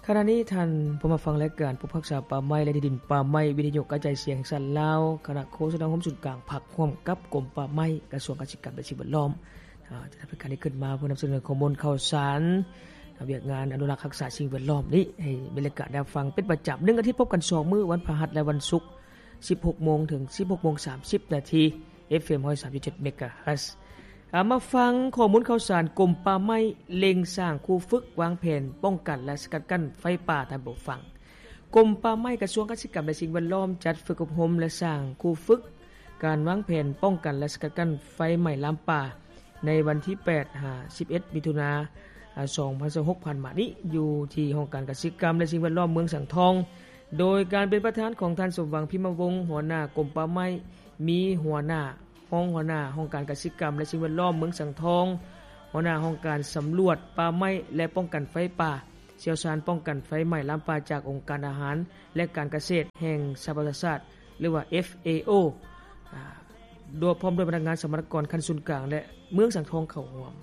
ຂະນະນີ້ທ່ານຜູ້ມາຟັງລາຍການ ຜູ້ຮັກສາປ່າໄມ້ ແລະ ທີ່ດິນປ່າໄມ້ ວິທະຍຸກະຈາຍສຽງແຫ່ງຊາດລາວ, ຄະນະໂຄສະນາໂຮມສູນກາງພັກ ຮ່ວມກັບກົມປ່າໄມ້ ກະຊວງກະສິກຳ ແລະ ສິ່ງແວດລ້ອມ ຈະນຳລາຍການນີ້ຂຶ້ນມາເພື່ອນຳສະເໜີຂໍ້ມູນຂ່າວສານ ວຽກງານອະນຸລັກຮັກສາສິ່ງແວດລ້ອມນີ້ ໃຫ້ມີລາຍການໄດ້ຟັງເປັນປະຈຳ ໜຶ່ງອາທິດພົບກັນສອງມື້ ວັນພະຫັດ ແລະ ວັນສຸກ ສິບຫົກໂມງ ເຖິງ ສິບຫົກໂມງ ສາມສິບນາທີ ເອັຟເອັມ ຮ້ອຍສາມຈຸດເຈັດ ເມກາເຮີດ. ອາ ມາຟັງຂໍ້ມູນຂ່າວສານ. ກົມປ່າໄມ້ເລັ່ງສ້າງຄູຝຶກວາງແຜນປ້ອງກັນ ແລະ ສະກັດກັ້ນໄຟປ່າ. ທ່ານຜູ້ຟັງ, ກົມປ່າໄມ້ ກະຊວງກະສິກຳ ແລະ ສິ່ງແວດລ້ອມ ຈັດຝຶກອົບຮົມ ແລະ ສ້າງຄູຝຶກການວາງແຜນປ້ອງກັນ ແລະ ສະກັດກັ້ນໄຟໄໝ້ລາມປ່າ ໃນວັນທີແປດ ຫາ ສິບເອັດ ມິຖຸນາ ສອງພັນຊາວຫົກ ຜ່ານມານີ້ ຢູ່ທີ່ຫ້ອງການກະສິກຳ ແລະ ສິ່ງແວດລ້ອມເມືອງສັງທອງ ໂດຍການເປັນປະທານຂອງທ່ານ ສົມຫວັງ ພິມມະວົງ ຫົວໜ້າກົມປ່າໄມ້, ມີຫົວໜ້າ, ຮອງຫົວໜ້າຫ້ອງການກະສິກຳ ແລະ ສິ່ງແວດລ້ອມເມືອງສັງທອງ, ຫົວໜ້າຫ້ອງການສຳຫຼວດປ່າໄມ້ ແລະ ປ້ອງກັນໄຟປ່າ, ຊ່ຽວຊານປ້ອງກັນໄຟໄໝ້ລາມປ່າຈາກອົງການອາຫານ ແລະ ການກະເສດແຫ່ງສະຫະປະຊາຊາດ ຫຼືວ່າ ເອັຟເອໂອ ອາ ໂດຍ ພ້ອມດ້ວຍພະນັກງານສຳມະນາກອນຂັ້ນສູນກາງ ແລະ ເມືອງສັງທອງເຂົ້າຮ່ວມ.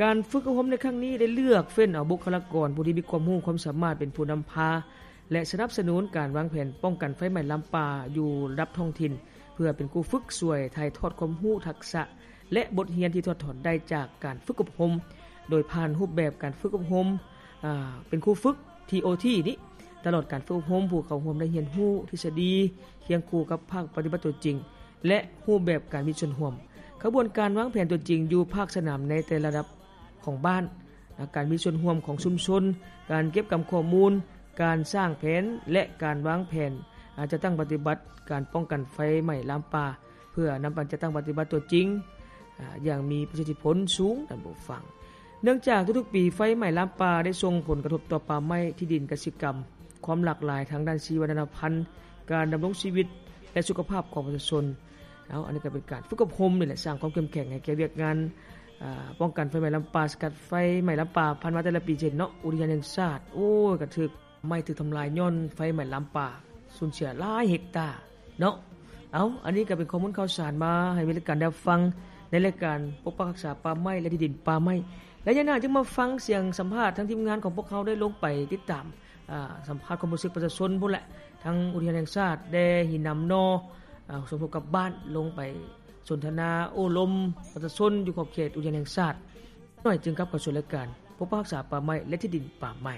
ການຝຶກອົບຮົມໃນຄັ້ງນີ້ໄດ້ເລືອກເຟ້ນເອົາບຸກຄະລາກອນຜູ້ທີ່ມີຄວາມຮູ້ຄວາມສາມາດເປັນຜູ້ນຳພາ ແລະ ສະໜັບສະໜູນການວາງແຜນປ້ອງກັນໄຟໄໝ້ລາມປ່າຢູ່ລະດັບທ້ອງຖິ່ນ ເພື່ອເປັນຄູຝຶກຊ່ວຍຖ່າຍທອດຄວາມຮູ້, ທັກສະ ແລະ ບົດຮຽນທີ່ຖອດຖອນໄດ້ຈາກການຝຶກອົບຮົມ ໂດຍຜ່ານຮູບແບບການຝຶກອົບຮົມ ອາ ເປັນຄູຝຶກ ທີໂອທີ ນີ້ ຕະຫຼອດການຝຶກອົບຮົມ ຜູ້ເຂົ້າຮ່ວມໄດ້ຮຽນຮູ້ທິດສະດີຄຽງຄູ່ກັບພາກປະຕິບັດຕົວຈິງ ແລະ ຮູບແບບການມີສ່ວນຮ່ວມ. ຂະບວນການວາງແຜນຕົວຈິງຢູ່ພາກສະໜາມໃນແຕ່ລະລະດັບຂອງບ້ານ, ການມີສ່ວນຮ່ວມຂອງຊຸມຊົນ, ການເກັບກຳຂໍ້ມູນ, ການສ້າງແຜນ ແລະ ການວາງແຜນ ອາ ຈັດຕັ້ງປະຕິບັດການປ້ອງກັນໄຟໄໝ້ລາມປ່າ ເພື່ອນຳໄປຈັດຕັ້ງປະຕິບັດຕົວຈິງ ອາ ຢ່າງມີປະສິດທິຜົນສູງ. ທ່ານຜູ້ຟັງ, ເນື່ອງຈາກທຸກໆປີໄຟໄໝ້ລາມປ່າໄດ້ສົ່ງຜົນກະທົບຕໍ່ປ່າໄມ້, ທີ່ດິນກະສິກຳ, ຄວາມຫຼາກຫຼາຍທາງດ້ານຊີວະນານາພັນ, ການດຳລົງຊີວິດ ແລະ ສຸຂະພາບຂອງປະຊາຊົນ. ເອົາ ອັນນີ້ກໍເປັນການຝຶກອົບຮົມນີ້ແຫຼະ ສ້າງຄວາມເຂັ້ມແຂງໃຫ້ແກ່ວຽກງານ ອາ ປ້ອງກັນໄຟໄໝ້ລາມປ່າ, ສະກັດໄຟໄໝ້ລາມປ່າ. ຜ່ານມາແຕ່ລະປີ ເຊັ່ນເນາະ ອຸທະຍານແຫ່ງຊາດ ໂອ້ຍ ກະຖືກໄມ້ຖືກທຳລາຍຍ້ອນໄຟໄໝ້ລາມປ່າ ສູນເສຍຫຼາຍເຮັກຕາເນາະ. ເອົາ ອັນນີ້ກໍເປັນຂໍ້ມູນຂ່າວສານມາໃຫ້ມີລາຍການໄດ້ຮັບຟັງ ໃນລາຍການປົກປັກຮັກສາປ່າໄມ້ ແລະ ທີ່ດິນປ່າໄມ້. ໄລຍະໜ້າຈຶ່ງມາຟັງສຽງສຳພາດທາງທີມງານຂອງພວກເຮົາໄດ້ລົງໄປຕິດຕາມ ອາ ສຳພາດຄວາມຮູ້ສຶກປະຊາຊົນພຸ້ນແຫຼະ ທາງອຸທະຍານແຫ່ງຊາດແດ່ຫີນນາມນໍ ອາ ສົມທົບກັບບ້ານ ລົງໄປສົນທະນາໂອ້ລົມປະຊາຊົນຢູ່ຂອບເຂດອຸທະຍານແຫ່ງຊາດ. ໜ້ອຍຈຶ່ງກັບເຂົ້າສູ່ລາຍການປົກປັກຮັກສາປ່າໄມ້ ແລະ ທີ່ດິນປ່າໄມ້.